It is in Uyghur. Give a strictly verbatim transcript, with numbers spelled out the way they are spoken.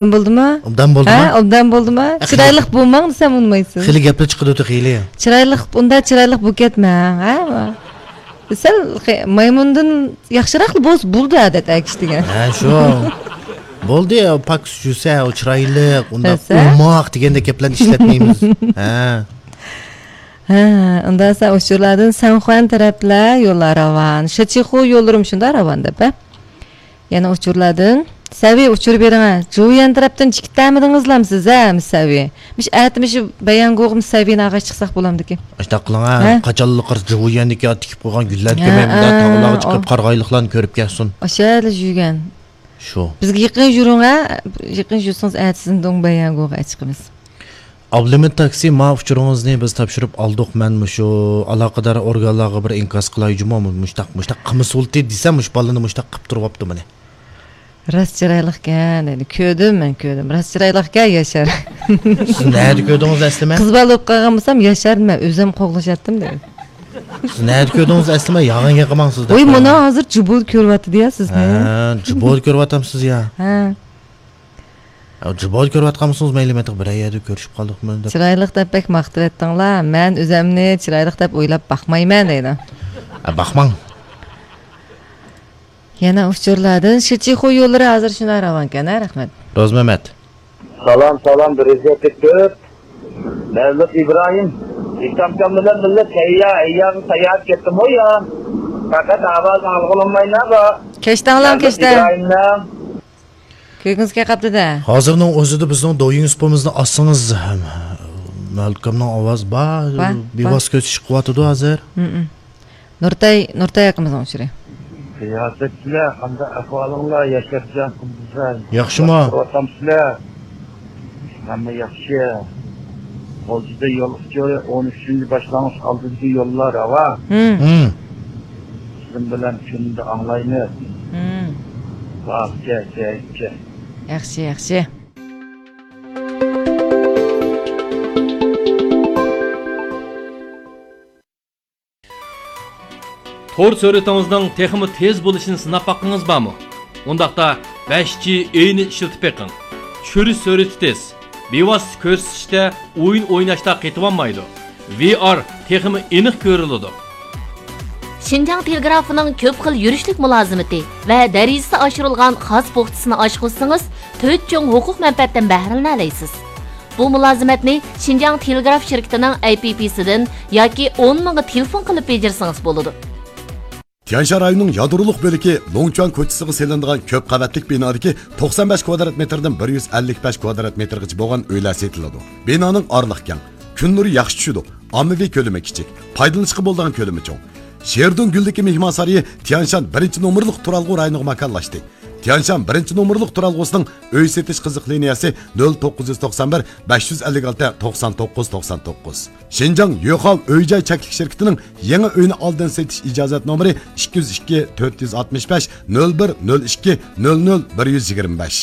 بولدىمۇ؟ ئوبدان بولدىما؟ ھە، ئوبدان بولدىما؟ ئە، خېلى چىرايلىق بولماڭ دېسەم ئۇنىمايسىز. خېلى گەپلەر چىقىدۇ تېخى ھېلى. چىرايلىق، ئۇنداق چىرايلىق بولۇپ كەتمەڭ، ھە؟ سەل خې-، مايمۇندىن ياخشىراقلا بولسا بولدى، ئادەت ئەكىش دېگەن. ھە، شۇ. بولدى، پاكىز جۈسە، ئۇ چىرايلىق، ئۇنداق دېسە؟ ئوماق دېگەندەك گەپلەرنى ئىشلەتمەيمىز. ھە. ھە، ئۇنداق دېسە ئۇچۇرلاردىن سەنخۇەن تەرەپلەر يوللار راۋان. شىچىخۇ يوللىرىمۇ شۇنداق راۋان دەپ، ھە؟ يەنە ئۇچۇرلاردىن، سەۋى ئۇچۇر بېرىڭە، جۇيۈەن تەرەپتىن چىقىپ تەمىدىڭىزلام سىز، ھە، مىس سەۋى؟ مىش ئەتە مىشۇ بەيەنگوغ مىس سەۋىنى ئاغاچ چىقساق بولامدىكى؟ ئاشتاق قىلىڭا، ھە؟ قاچانلا قارىسا جۇيۈەندىكى تىكىپ قويغان گۈللەر ھە، كۆرمەيمىز، ھە، تاغلارغا ھە، چىقىپ ھە. قارىغايلىقلارنى كۆرۈپ كەلسۇن. ئاشۇ يەردە جۈيۈەن. شۇ. بىزگە يېقىن يۈرۈڭە، يېقىن يۈرسىڭىز ئەتىسىنى دوڭ بەيەنگوغا چىقىمىز. ئابلىمىت تاكسى، ما ئۇچۇرىڭىزنى بىز تاپشۇرۇپ ئالدۇق، مەن مۇشۇ ئالاقىدار ئورگانلارغا بىر ئىنكاس قىلاي جۇمۇ، مۇشتاق، مۇشتاق قىلمىسۇلتى دېسە، مۇشۇ بالىنى مۇشتاق قىپ تۇرۇۋاپتۇ مانا. راست چىرايلىقكەن دەيدۇ، كۆردۈم مەن، كۆردۈم، راست چىرايلىقكەن ياشار. سىز نەدە كۆردىڭىز ئەسلىمە؟ قىز بالا بولۇپ قالغان بولسام ياشارنى مەن ئۆزۈم قوغلىشاتتىم دەيدۇ. سىز نەدە كۆردىڭىز ئەسلىمە؟ ياغان گەپ قىلماڭ سىز دەپ ۋوي، قويدۇم. مانا ھازىر جۇبۇدا كۆرۈۋاتىدۇ يا سىزنى. ھە، جۇبۇدا كۆرۈۋاتامسىز يا؟ ھە. يا، جۇبادا كۆرۈۋاتقانمىسىڭىز مەيلى، مەن بىرەر يەردە كۆرۈشۈپ قالدۇقمۇ دەپ. چىرايلىق دەپ بەك ماختىۋەتتىڭلار، مەن ئۆزەمنى چىرايلىق دەپ ئويلاپ باقمايمەن دەيدۇ. ھە، باقماڭ. يەنە ئۇچۇرلاردىن شىچىخۇ يوللىرى ھازىر شۇنداق راۋانكەن، ھە، رەھمەت. روزمەمەت. سالام، سالام، بىر يۈز يەتتە تۆت. مەۋلۇت ئىبراھىم. ئىسلامكام بىلەن بىللە سەييا، ئەييارغا ساياھەت كەتتىمۇ يا؟ پەقەت ئاۋاز ئاڭلىغىلى بولماينا بۇ. كەچتەڭلار، مەۋلۇت كەچتەڭ. ئىبراھىمنىڭ. كۆرگۈڭىز كەلمەپتۇ-دە. ھازىرنىڭ ئۆزىدە بىزنىڭ دويىڭ سۇپىمىزنى ئالسىڭىز، مەلكەمنىڭ ئاۋازى بار، بار، بىۋاسىتە كۆز چىقىۋاتىدۇ ھازىر. ھىم. نۇرتاي، نۇرتاي ئاكىمىزنىڭ ئۇچۇرى. رىياسەتچىلەر، قانداق ئەھۋالىڭلار، ياشارجان قىزلار؟ ياخشىمۇ؟ ياخشىۋاتامسىلەر؟ ھەممە ياخشى. غۇلجىدا يول ئۇچۇرى، ئون ئۈچىنچى باشلانغۇچ ئالدىدىكى يوللار راۋان. ھىم. ھىم. سىزنىڭ بىلەن كۈندە ئاڭلايمىز. ھىم. باركە، كەيكە. ياخشى، ياخشى. تور سۈرئىتىڭىزنىڭ تېخىمۇ تېز بولۇشىنى سىناپ باققىڭىز بارمۇ؟ ئۇنداقتا بەش جى ئېينى ئىشلىتىپ بېقىڭ. چۈشۈرۈش سۈرئىتى تېز، بىۋاسىتە كۆرسىتىشتە ئويۇن ئويناشتا قېتىۋالمايدۇ. ۋى ئار تېخىمۇ ئېنىق كۆرۈلىدۇ. شىنجاڭ تېلېگرافىنىڭ كۆپ خىل يۈرۈشلۈك مۇلازىمىتى ۋە دەرىجىسى ئاشۇرۇلغان خاس پوختىسىنى ئاشقۇزسىڭىز، تۆت چوڭ ھوقۇق مەنپەئەتتىن بەھرىلىنەلەيسىز. بۇ مۇلازىمەتنى شىنجاڭ تېلېگراف شىركىتىنىڭ ئەي پى پىسىدىن ياكى ئون مىڭغا تېلېفون قىلىپ بېجىرسىڭىز بولىدۇ. تيەنشان رايونىنىڭ يادرولۇق بۆلىكى لوڭچۈەن كوچىسىغا سېلىنىدىغان كۆپ قەۋەتلىك بىنادىكى توقسان بەش كۋادرات مېتىردىن بىر يۈز ئەللىك بەش كۋادرات مېتىرغىچە بولغان ئۆيلەر سېتىلىدۇ. بىنانىڭ ئارىلىقى كەڭ، كۈن نۇرى ياخشى چۈشىدۇ، ئاممىۋى كۆلىمى كىچىك، پايدىلىنىشقا بولىدىغان كۆلىمى چوڭ. شېردۇڭ گۈللۈكى مېھمانسارىيى تيەنشان بىرىنچى نومۇرلۇق تۇرالغۇ رايونىغا ماكانلاشتى. تيەنشان بىرىنچى نومۇرلۇق تۇرالغۇسىنىڭ ئۆي سېتىش قىزىق لىنىيەسى نۆل توققۇز يۈز توقسان بىر، بەش يۈز ئەللىك ئالتە، توقسان توققۇز، توقسان توققۇز. شىنجاڭ يۆخاۋ ئۆي جاي چەكلىك شىركىتىنىڭ يېڭى ئۆينى ئالدىن سېتىش ئىجازەت نومۇرى ئىككى يۈز ئىككى، تۆت يۈز ئاتمىش بەش، نۆل بىر، نۆل ئىككى، نۆل نۆل، بىر يۈز يىگىرمە بەش.